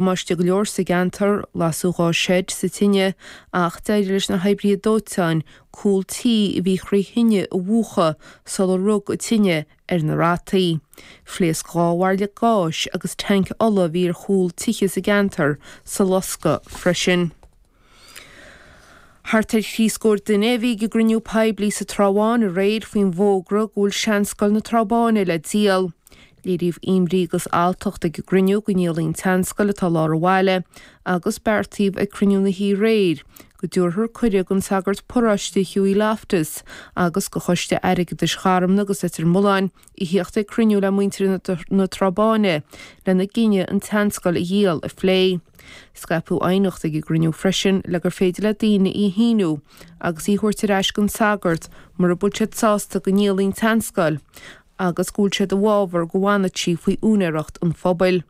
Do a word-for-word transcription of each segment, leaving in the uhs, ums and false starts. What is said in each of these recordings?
Damáiste go leor sa gceantar, lasadh dhá seid sa tine ach d'éirigh leis na hoibrithe dóiteáin cúl tí a bhí thrí thine a mhúchadh sular rug an tine ar na rataí. Phléasc dhá bhairille gáis agus tanc ola a bhí ar chúl tithe sa gceantar sa loscadh freisin. Thart ar thrí scór duine a bhí ag an gcruinniú poiblí sa Trá Bháin aréir faoin bhfógra go bhfuil Seanscoil na Trá Báine le díol. Léiríodh imní agus alltacht ag an gcruinniú go ndíolfaí an tseanscoil atá i lár an bhaile agus beartaíodh ag cruinniú na hoíche aréir go dtabharfar cuireadh don sagart paróiste Hughie Loftus agus do Choiste Airgeadais Gharmna agus Leitir Mealláin a thíocht ag cruinniú le muintir na Trá Báine lena gcinneadh an tseanscoil a dhíol a phlé. Scaipeadh aighneacht ag an gcruinniú freisin le gur féidir le daoine í a shíniú agus í a thabhairt ar ais don sagart mura bhfuil siad sásta go ndíolfaí an tseanscoil agus go bhfuil siad i bhfabhar go bhfanfadh sí faoi úinéireacht an phobail.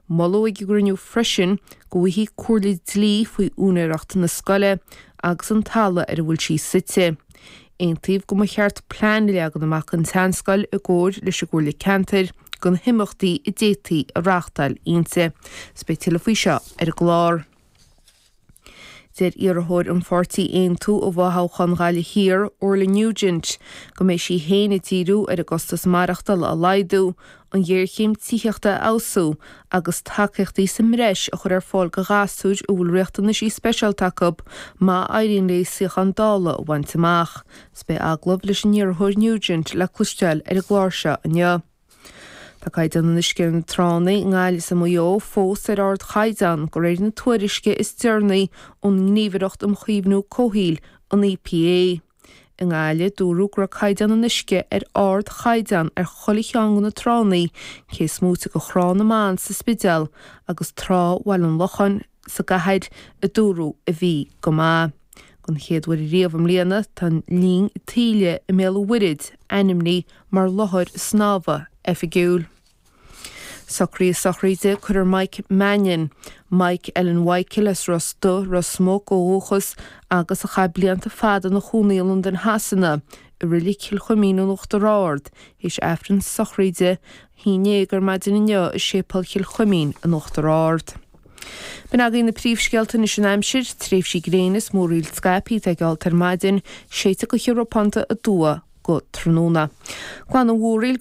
Moladh ag an gcruinniú freisin go bhfaighfí comhairle dlí faoi úinéireacht na scoile agus an talamh ar a bhfuil sí suite. Aontaíodh go mba cheart plean a leagan amach don tseanscoil i gcomhair leis an gComhairle Ceantair do na himeachtaí a d'fhéadfaí a reáchtáil inti. 'S beidh tuilleadh faoi seo ar an gclár. Deir iarrthóir an pháirtí Aontú i bhfothoghchán Ghaillimh Thiar, Orla Nugent, go mbeidh sí féin ag díriú ar an gcostas maireachtála a laghdú, an ghéarchéim tithíochta a fheabhsú agus tacaíochtaí sa mbreis a chur ar fáil do ghasúir a bhfuil riachtanaisí speisialta acu má éiríonn léi suíochán Dála a bhaint amach. 'S beidh agallamh leis an iarrthóir Nugent le cloisteáil ar an gclár seo inniu. Tá caighdeán an uisce ar na tránna i nGaillimh is i Maigh Eo fós ar ardchaighdeán, de réir na tuairisce is deireanaí ón nGníomhaireacht um Chaomhnú Comhshaoil, an EPA. I nGaillimh, dúradh go raibh caighdeán an uisce ar ardchaighdeán ar chuile cheann de na tránna, cé is móite de Thrá na mBan sa Spidéal agus Trá Bhaile an Locháin sa gcathair, a dúradh a bhí go maith. Don chéad uair riamh i mbliana, tá an linn taoille i mBéal an Mhuirthead ainmnithe mar láthair snámha oifigiúil. Socruithe sochraide, Cuirfear Mike Mannion, Mike Ellen Mhichael as Ros Dubh, Ros Muc ó dhúchas agus a chaith blianta fada ina chónaí i Londain Shasana, i Reilig Chill Chuimín in Uachtar Ard, théis Aifreann sochraide a haon déag ar maidin inniu i Séipéal Chill Chuimín in Uachtar Ard. B'in agaibh na príomhscéalta anois an aimsir, tréimhsí gréine is múraíl scaipthe atá geallta ar maidin, séidfidh gaoth ropánta aduaidh go tráthnóna. Glanadh mhúraíl